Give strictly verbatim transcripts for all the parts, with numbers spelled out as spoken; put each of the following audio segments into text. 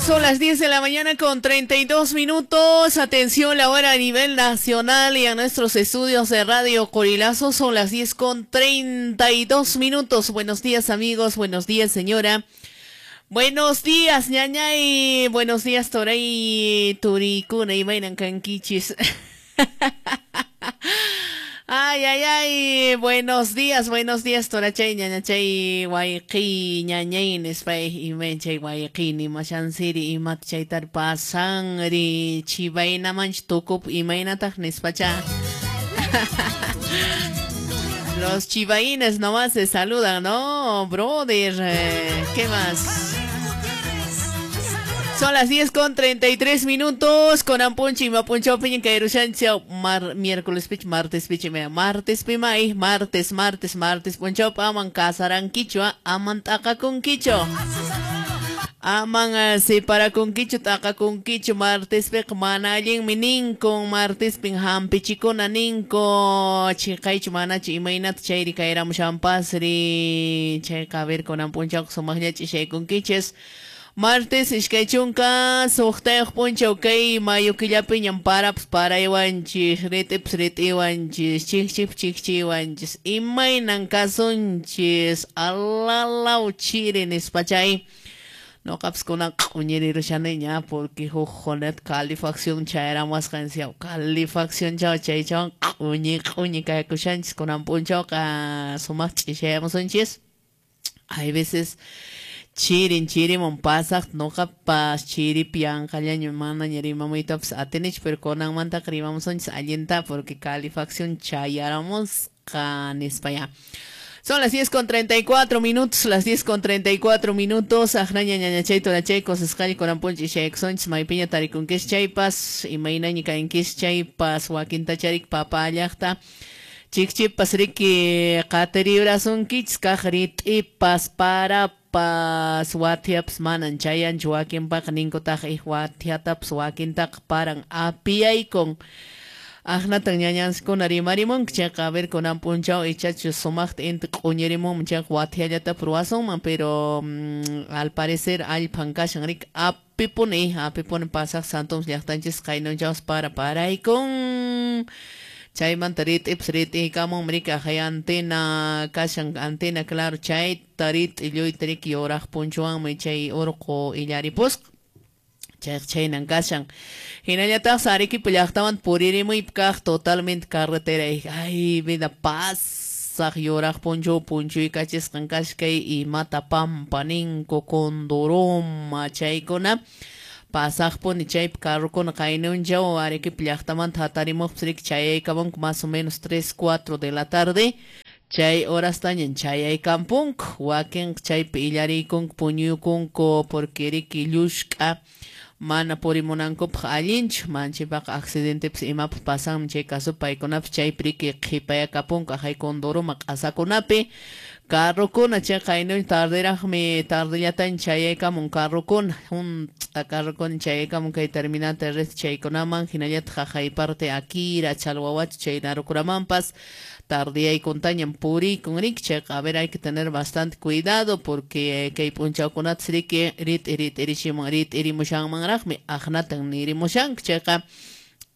Son las diez de la mañana con treinta y dos minutos. Atención, la hora a nivel nacional y a nuestros estudios de Radio Corilazo son las diez con treinta y dos minutos. Buenos días, amigos. Buenos días, señora. Buenos días, ñañay. Buenos días, toray, turikuna y mainan canquichis. Ay, ay, ay, buenos días, buenos días, torachay, ñañachay, wayqi, ñañay, nispay, imenchay, wayqi, nimashansiri, imat chaytar pasanri, chibaynamanch tukup, imaynataq nispacha. Los chivaines nomás se saludan, ¿no, brother? Eh, ¿qué más? Son las diez con treinta y tres minutos. Con ampunchi, mapuncho, piñen, caerushancho, mar, miércoles, pich, martes, pich, mea, martes, pimay, martes, martes, martes, puncho, aman casaran quichua, aman taca con quicho. Aman uh, separa con quicho, taca con quicho, martes, pek, manalin, minincon, martes, pin, hampichicona, ninco, chicaicho, manachi, imainat, chayri, caeram, champasri, checa, ver con ampuncho, somagnachi, chay con quiches. Martes, iskay chunka suqtayuq punchaw kay mayo killapiñam parapas paraywanchis, ritipas ritiwanchis, chikchipas chikchiwanchis, imaynan kasunchis, alalaw chiri nispachay. Noqapas kunan q'uñirirushaniña porque huk jonet calefacción chayaramuwasqansiyaw, calefacción chaw chaychawan q'uñi q'uñi kaykushanchis kunan punchawqa sumaq ch'ishayamusunchis. Hay veces chirin chirimun pasaq noqapas chiripi yanqallaña manaña rimamuytapas atinich, pero kunanmantaqa rimamusunchis allinta porque calefacción chayaramusqa nispa ya. Son las diez con treinta y cuatro minutos, las diez con treinta y cuatro minutos. Ajnaña ñañachay torachay cosasqalli kuranpunchi ishaykusonchis maypiña tarikunkish chaypas imaynaña kankish chaypas wakintacharik papa llaqta chikchipas riki qatiribrasunkichis kaq rit'ipas para pas wathiapas manan chayanchu wakinpaqa ninkutaq ij wathiatapas wakintaqa paran apiyaykun. Aqnatan ñañansikuna rimarimunku chayqa a ver kunan punchaw ichachu sumaqta inti q'uñirimunman chayqa wathiallatapas ruwasunman, pero mm, al parecer allpan kashan riki apipuni apipuni pasaq Santoms llaqtanchis qaynunchawas para paraykun. Chaymanta rit'ipas rit'iykamunmi riki ajay antena kashan antena claro chayta rit'i lluyta riki yuraq punchuwanmi chay urqu illaripusqa. Chayqa chaynan kashan. Hinallataqsi Arequipa llaqtamanta puririmuypi kaq totalmente carretera ay vida pasaq yuraq punchu punchuykachisqan kashkay imata pampa ninku Condoroma chaykuna. Pasaqpuni chaypi carrokuna qaynunchaw Arequipa llaqtamanta hatarimuqpas riki chayaykamunku más o menos tres, cuatro de la tarde. Chay horastañan chayaykampunku wakinqa chaypi illariykunku puñuykunku porque riki llushk'a mana purimunankupaq allinchu manchaypaqa accidentepas imapas pasanmi chay caso paykunapas chaypi riki qhipayakapunku ajay Condoroma q'asakunapi. Carrokuna chay qaynun tarderaqmi tardellataña chayaykamun carrokuna hunt'a carrokuna chayaykamun kay terminal terrestre chaykunaman hinallataq jaqay parte Akira Chalhuahuacho chay Narukuramanpas tardeyaykuntañam puriykun riki chayqa a ver hay que tener bastante cuidado porque kay p'unchawkunatas riki rit'i rit'irichimun rit'irimushanmanraqmi aqnatan nirimushanku chayqa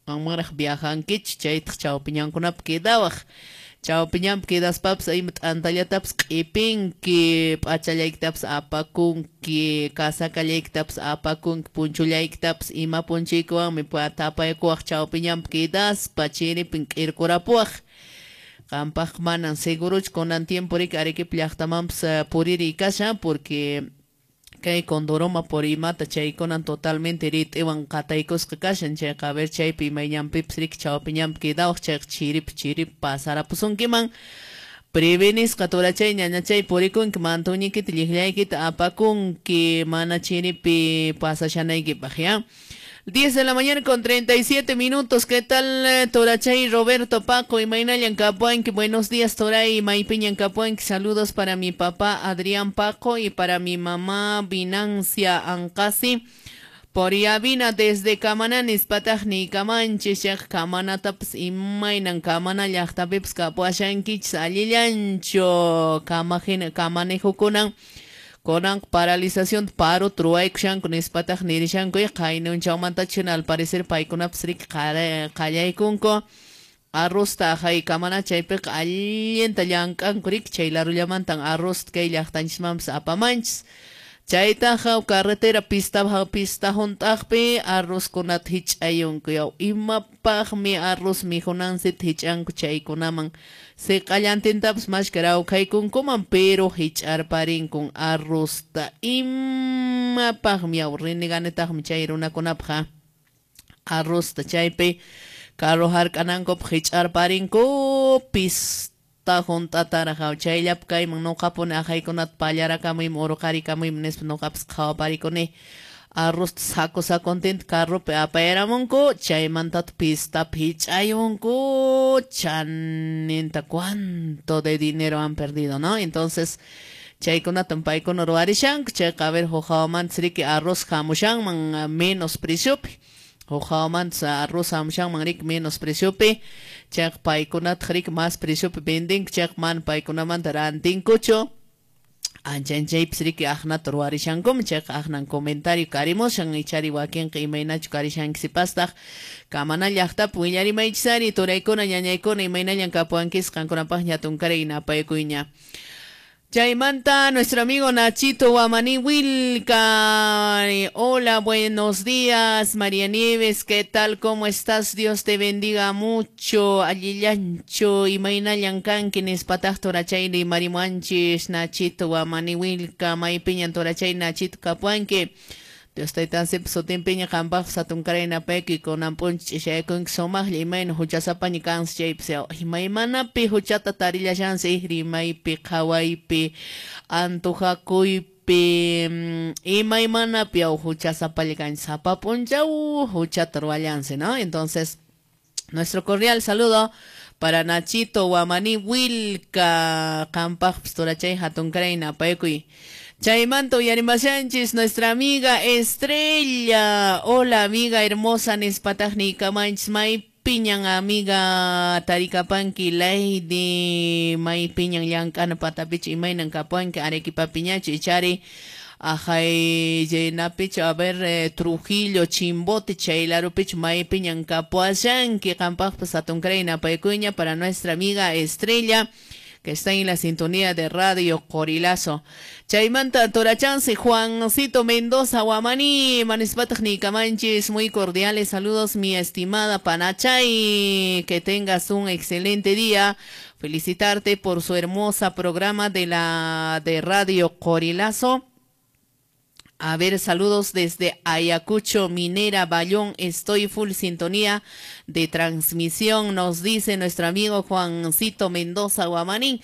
amaraq viajankichik chaytaq chawpiñankunapi quedawaq. Chawpiñanpi quedaspapas ima t'antallatapas q'ipinki, p'achallaykitapas apakunki, kasakallaykitapas apakunki, punchullaykitapas ima punchaykuwanmi tapaykuwaq chawpiñanpi quedaspa chiripin k'irkurapuwaq. Qampaq manan seguruchu kunan tiempo riki Arequipa llaqtamanpas puririy kashan porque kay Condoroma por imata chaykunan totalmente rit'iwan qataykusqa kashan chayqa a ver chaypi imayñanpipas riki chawpiñanpi quedawaq chayqa chiripi chiripi pasarapusunkiman. Prevenisqa torachay ñañachay purikunki mantuñiykita lliqllaykita apakunki mana chiripi pasashanaykipaq ya. diez de la mañana con treinta y siete minutos. ¿Qué tal, Torachay Roberto Paco y Maynallan Capuanqui? Buenos días, Toray Maypiñan Capuanqui. Saludos para mi papá Adrián Paco y para mi mamá Vinancia Ancasi. Por Yavina desde Kamananis, Patagni, Kamanche, Shek, Kamanataps, Imaynan, Kamana, Llaqtapips, Kapuashankichis, Allillancho, Kamajina, Kamanejukunan. Kunan paralización paro truwaykushanku nispataq nirishanku qaynunchawmantachu al parecer paykunapas riki qallaykunku arrozta ahaykamana chaypiqa allinta llank'anku riki chay larullamantan arroz kay llaqtanchismanpas apamanchis. Chaytaqa carretera pista pista hunt'aqpi arrozkunata hich'ayunku yaw imapaqmi arroz mijunansita hich'anku chaykunaman siq'allantintapas mashka rawkhaykunkuman pero hich'arparinkun arrozta imapaqmi yaw reneganetaqmi chay runakunapaq arrozta chaypi carro hark'anankupaq hich'arparinku pista hunt'ataraq chayllapi kayman nuqapuni ahaykunata pallarakamuyman urqarikamuyman nispa nuqapas qhawaparikuni arrozta saco sacontinta carropi apayaramunku chaymantata pistapi hich'ayunku chaninta cuánto de dinero han perdido, ¿no? Entonces chaykunatan paykuna ruwarishanku chayqa a ver huk hawamantas riki arroz hamushanman menos preciopi huk hawamantas arroz hamushanman riki menos preciopi chayqa paykunataq riki mas preciopi vendinku chayqa mana paykunamanta rantinkuchu anchanchaypis riki aqnata ruwarishankuman chayqa aqnan comentario karimushan ichari wakinqa imaynachu karishankisipastaq kamana llaqtapi willarimaychisari turaykuna ñañaykuna imaynallan kapuwankis qankunapaq ñatunkaray napaykuyña. Chaymanta nuestro amigo Nachito Guamaní Wilca. Hola, buenos días, María Nieves, ¿qué tal? ¿Cómo estás? Dios te bendiga mucho. Allillancho, imaynallan kanki nispataq torachayri marimuanchis, Nachito Guamaní Wilca, maypiñan torachay Nachito kapuanki. Dios taytansipa sutinpiña qampaq hatunkaray napayki kunan p'unchaw ch'ishaykunki sumaqlla imayna huchasapaña kansi chaypis imaymanapi huchata tarillashansi rimaypi qhawaypi antujakuypi imaymanapi yaw huchasapalla kanchis sapa p'unchaw huchata ruwallansi, ¿no? Entonces, nuestro cordial saludo para Nachito Guamaní Wilca qampaqpis torachay hatunkaray napaykuy. Chaymanta uyarimashanchis nuestra amiga Estrella. Hola amiga hermosa nispataqni kamanchis maypiñan amiga tarikapanki Lady maypiñan llank'ana patapichu imaynan kapuanki Arequipapiñachu ichari ajay llenapichu a ver eh, Trujillo Chimbote chaylarupichu maypiñan kapuashanki qampaqpas hatunkaray napaykuyña para nuestra amiga Estrella que está en la sintonía de Radio Corilazo. Chaymanta Torachanse, Juancito Mendoza, Guamaní, Manispataq nikamanchis, muy cordiales saludos, mi estimada Panachay, que tengas un excelente día. Felicitarte por su hermosa programa de la de Radio Corilazo. A ver, saludos desde Ayacucho, Minera, Bayón. Estoy full sintonía de transmisión, nos dice nuestro amigo Juancito Mendoza Guamaní.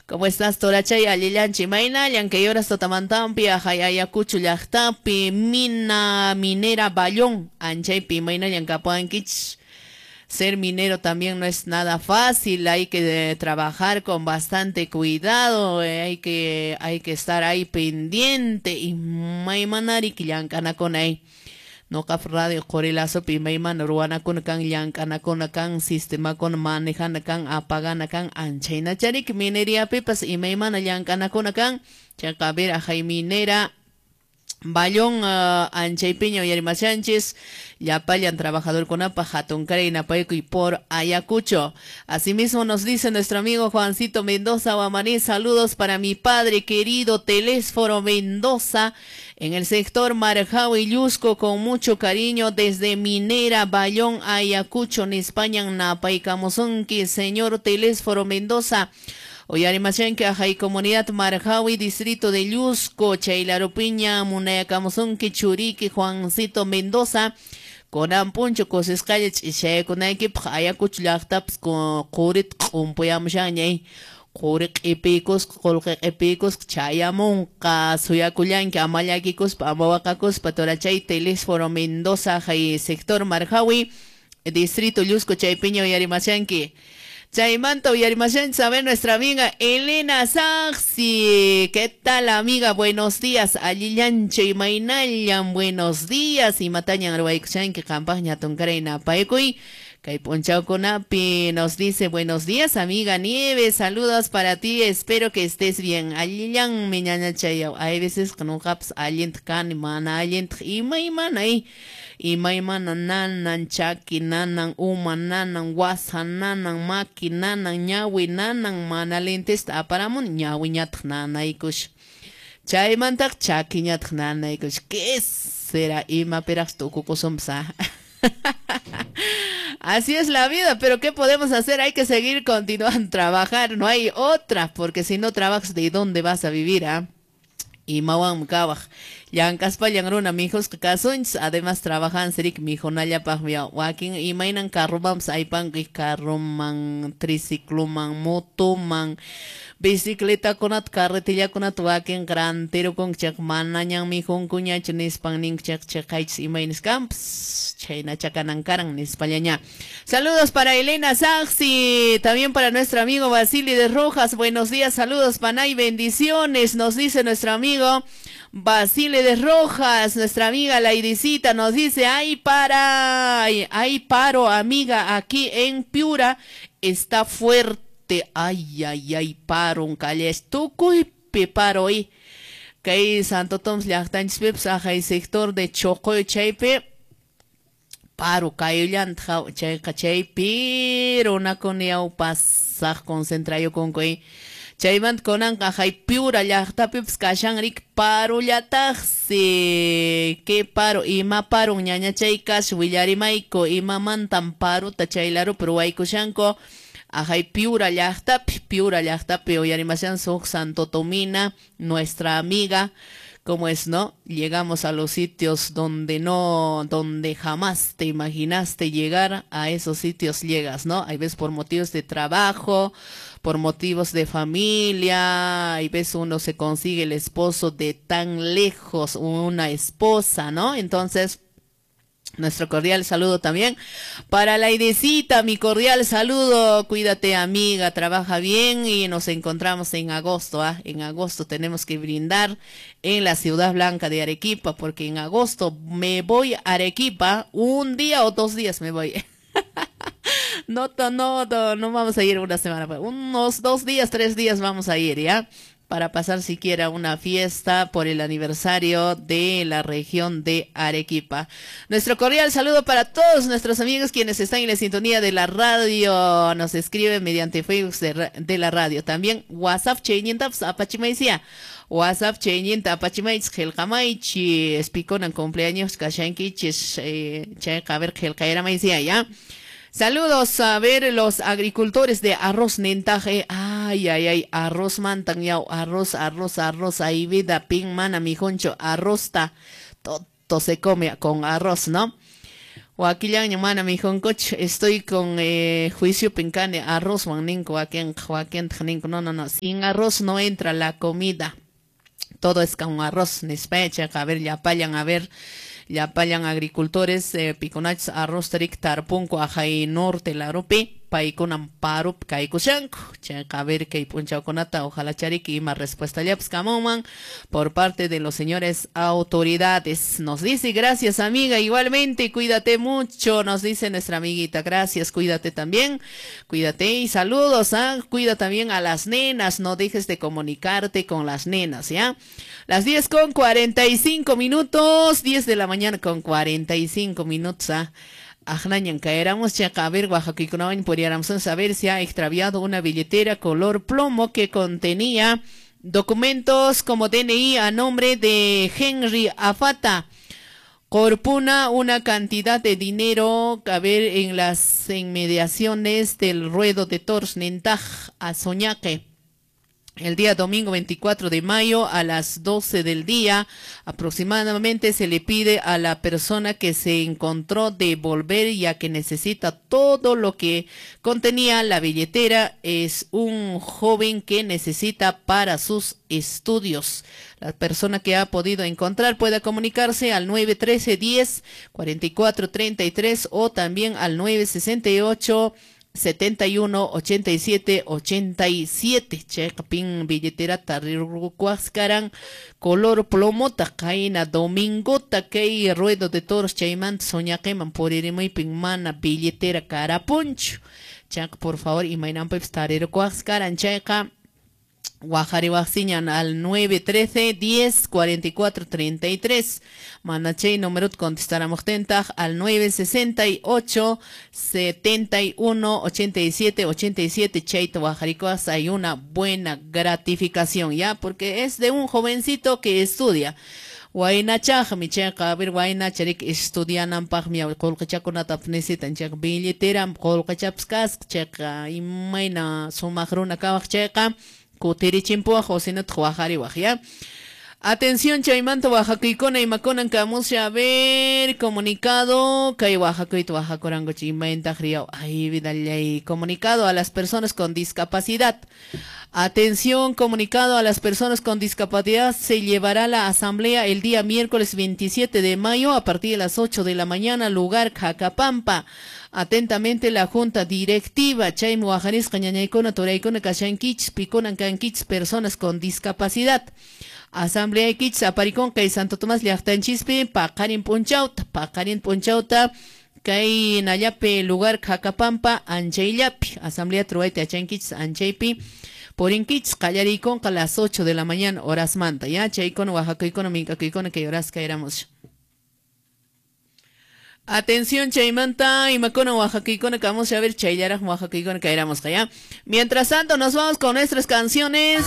¿Cómo estás, Torachay? Allillanchi, Maynallan, que horas totamantampi, Ayacucho, llaqtapi, Mina, Minera, Bayón, Anchaypi, Maynallan, Capuanquich. Ser minero también no es nada fácil, hay que eh, trabajar con bastante cuidado, eh, hay que hay que estar ahí pendiente y maymanari llank'anakuna noqap radio Corilazopi maymana ruwanakuna kan llank'anakuna kan sistemakuna manejana kan apagana kan anchaynachariki mineriapipas imaymana llank'anakuna kan chayqa a ver ajay minera Bayón uh, anchaypiña uyarimashanchis llapallan trabajadorkunapaq hatunkaray napaykuy por Ayacucho. Asimismo nos dice nuestro amigo Juancito Mendoza Guamaní, saludos para mi padre querido Telésforo Mendoza en el sector Marjao y Llusco con mucho cariño desde Minera Bayón Ayacucho Nispañan napaykamusunki señor Telésforo Mendoza. Uyarimashanki ajay comunidad Marjawi, distrito de Llusco, Chaylarupiña, munayakamusunki, Churiki, Juancito Mendoza, kunan puncho kusisqalla ch'ishaykunaykipaq Ayacucho llaqtapas qurit q'umpuyamushanñay quri q'ipiykusqa qullqi q'ipiykusqa chayamunqa suyakullanki ama llakikuspa ama waqakuspa torachay Telésforo Mendoza ajay sector Marjawi, distrito Llusco, chaypiña uyarimashanki. Chaymanta uyarimashanchis a ver nuestra amiga Elena Saxi. ¿Qué tal, amiga? Buenos días. Allillancho y maynallan, buenos días. Imatañan ruwaykushanki qampaq ñatunkaray napaykuy. Kay p'unchawkunapi nos dice, buenos días amiga Nieves, saludos para ti, espero que estés bien. Allillanmi ñañachay, hay veces nuqapas allintaq kani, mana allintaq, imaymana imaymana nanan, chaki nanan, uma nanan, wasa nanan, maki nanan, ñawi nanan, mana lentesta aparamuni, ñawiñataq nanaykush. Chaymantaq chakiñataq nanaykush. ¿Qué será? Imapiraq tukukusunpas, ah? Así es la vida, pero ¿qué podemos hacer? Hay que seguir continuando trabajar, no hay otra, porque si no trabajas, ¿de dónde vas a vivir, ah? Imawan kawaq llank'aspallan runa mijusqa kasunchis, además trabajan sirik mijunallapaqmi wakin imaynan carromanpas aypanku, carroman, tricicloman, motoman, bicicletakunata, carretillakunata wakin rantirukunku chayqa manañan mijunkuñachu nispan ninku chayqa chayqaychis imaynas kanpas chhaynacha kanan karan nispallaña. Saludos para Elena Saxi, también para nuestro amigo Vasily de Rojas, buenos días, saludos panay, bendiciones, nos dice nuestro amigo Basile de Rojas. Nuestra amiga Laidicita nos dice, ay para, ay, ay paro amiga, aquí en Piura está fuerte, ay ay ay paro un calle tukuypi paro y kay Santo Tomás llaqtanchispipas ajay sector de Chocoyo chaypi paro kayullanta chayqa chaypi runakuna yaw pasaq concentrayukunku. Chaymanta kunanqa hay Piura llaqtapipas kashanrik parullataqsi. ¿Qué paro? Ima paro ñañachay kash willarimayku imamantan paruta chaylarupi ruwaykushanku. Ajay Piura llaqtapi, Piura llaqtapi uyarimashan suq Santo Tomina, nuestra amiga. ¿Cómo es, no? Llegamos a los sitios donde no, donde jamás te imaginaste llegar, a esos sitios llegas, ¿no? Hay veces por motivos de trabajo, por motivos de familia, hay veces uno se consigue el esposo de tan lejos, una esposa, ¿no? Entonces, nuestro cordial saludo también para la Idecita, mi cordial saludo, cuídate amiga, trabaja bien y nos encontramos en agosto, ¿ah? En agosto tenemos que brindar en la Ciudad Blanca de Arequipa, porque en agosto me voy a Arequipa, un día o dos días me voy. No, no, no, no vamos a ir una semana, unos dos días, tres días vamos a ir, ¿ya? Para pasar siquiera una fiesta por el aniversario de la región de Arequipa. Nuestro cordial saludo para todos nuestros amigos quienes están en la sintonía de la radio. Nos escriben mediante Facebook de, de la radio. También WhatsApp chaynintapas apachimaysiya. WhatsApp chayninta apachimaychis qillqamaychis. Pikunan cumpleaños kashankichis. Chayqa a ver qillqayramaysiya, ¿ya? Saludos a ver los agricultores de arroz nentaje. Ay, ay, ay, arroz mantan yau, arroz, arroz, arroz, ahí vida, pin mana, mijoncho, arroz ta, todo se come con arroz, ¿no? Wakillaña mana mijoncoch, estoy con eh, juicio pincane, arroz, ninco, waken, waken, ninco, no, no, no, sin arroz no entra la comida, todo es con arroz, nispecha, a ver, ya payan, a ver. Llapallan agricultores, eh, piconachs, arroz tarik tarpunco, ajay norte larupi, paykunan parup kaykushanku. Chayqa a ver kay p'unchawkunata, ojalá chariki ima respuesta llapas kamunman por parte de los señores autoridades. Nos dice, gracias amiga, igualmente, cuídate mucho, nos dice nuestra amiguita, gracias, cuídate también, cuídate y saludos, ¿ah? Cuida también a las nenas, no dejes de comunicarte con las nenas, ¿ya? Las diez con cuarenta y cinco minutos, diez de la mañana con cuarenta y cinco minutos, ¿ah? Ajnañan caeramos, chaca, a ver, Oaxaca, podríamos saber si ha extraviado una billetera color plomo que contenía documentos como D N I a nombre de Henry Afata. Corpuna una cantidad de dinero, a ver, en las inmediaciones del ruedo de Tors Nentaj a Soñaque. El día domingo veinticuatro de mayo a las doce del día aproximadamente se le pide a la persona que se encontró devolver, ya que necesita todo lo que contenía la billetera. Es un joven que necesita para sus estudios. La persona que ha podido encontrar puede comunicarse al nueve trece diez cuarenta y cuatro treinta y tres o también al nueve sesenta y ocho setenta y uno, ochenta y siete, ochenta y siete. Chayqa pin billetera rirqukuwasqaran color plomota qayna domingota kay ruedo de toros chaymanta soñaqiman puririmuypin mana billetera karapunchu. Chayqa por favor imaynanpipis tarirquwasqaran chayqa waqariwaqsiñan al nueve trece diez cuarenta y cuatro treinta y tres. Mana chay número contestaramuqtintaq al nueve sesenta y ocho setenta y uno ochenta y siete ochenta y siete. Chayta waqarikuwas hay una buena gratificación, ya, porque es de un jovencito que estudia. Waynachaqmi chayqa, a ver, waynacharik estudiananpaqmi qullqichakunata necesitan chayqa billeteram qullqichapas kasqa chayqa imayna sumaq runa kawaq chayqa kutirichinpuwaq o sinataq waqariwaq, ya. Atención, chaymanta wajakuykuna imakunan kamusha, a ver, comunicado, kay wajakuyta wajakurankuchi imayntaq riyaw, ay vidallay, comunicado a las personas con discapacidad. Atención, comunicado a las personas con discapacidad, se llevará la asamblea el día miércoles veintisiete de mayo a partir de las ocho de la mañana, lugar Jacapampa. Atentamente la junta directiva, chaymi wajarisqa ñañaykuna, turaykuna, kashankichis, pikunan kankichis, personas con discapacidad. Asamblea kichis aparikun kay Santo Tomás llaqtanchispi, paqarin p'unchawta, paqarin p'unchawta, kay nallapi lugar Jacapampa, anchayllapi. Asamblea truwayta yachankichis, anchaypi. Purinkichis qallariykunqa las ocho de la mañana, horas manta, ya, chaykuna, wajakuykuna, minkakuykuna, kay horas kayramos. Atención, chaymanta, imakuna, wajakuykuna, vamos a ver, chayllaraj, wajakuykuna, kayramos, ya. Mientras tanto, nos vamos con nuestras canciones.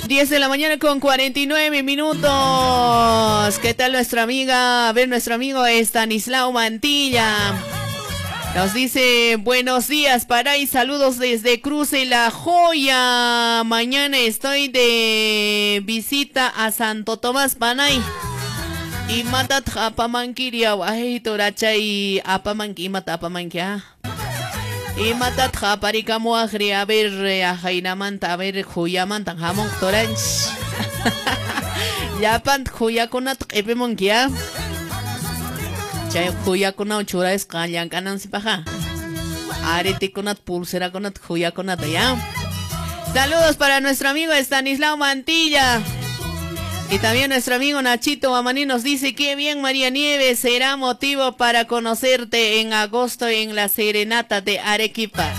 diez de la mañana con cuarenta y nueve minutos. ¿Qué tal nuestra amiga? A ver, nuestro amigo Estanislao Mantilla. Nos dice, buenos días, para y saludos desde Cruce La Joya. Mañana estoy de visita a Santo Tomás Panay. Y matat apamanquiria, ay, torachay, apamanqui, mata apamanquia. Y matat aparikamuajri, a ver, a Jainamanta, a ver, Juyamanta, jamón toranch. Yapant Juyakunat, epemonquia. Chay juyakunat churasqa llamk'anansipaqa. Aretikunat, pulserakunat, juyakunata, ya. Saludos para nuestro amigo Estanislao Mantilla. Y también nuestro amigo Nachito Mamani nos dice, qué bien María Nieves, será motivo para conocerte en agosto en la serenata de Arequipa.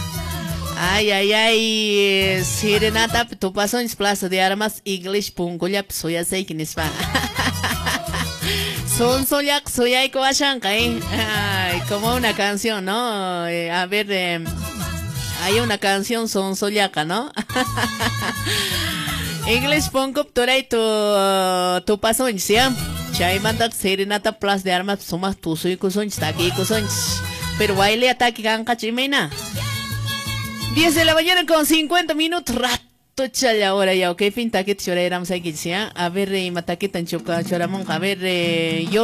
Ay, ay, ay, serenata, tu paso en Plaza de Armas, English, punkullap, suyasayki nispa. Sonsollaq suyayku ashanqa, ¿eh? Ay, como una canción, ¿no? Eh, a ver, eh, hay una canción sonsollaqa, ¿no? English punkup turay tu tu pasonchis, ¿ya? Chaymantaq serenata Plaza de Armas sumaq tusuykusunchis, takiykusunchis. Pero baile taki kanqachu imayna. diez de la mañana con cincuenta minutos, rato. Tocha ahora ya, ok, fin taquete choreramos aquí, ¿sí? A ver, eh, mataquetan choca choramonja, a ver, eh, yo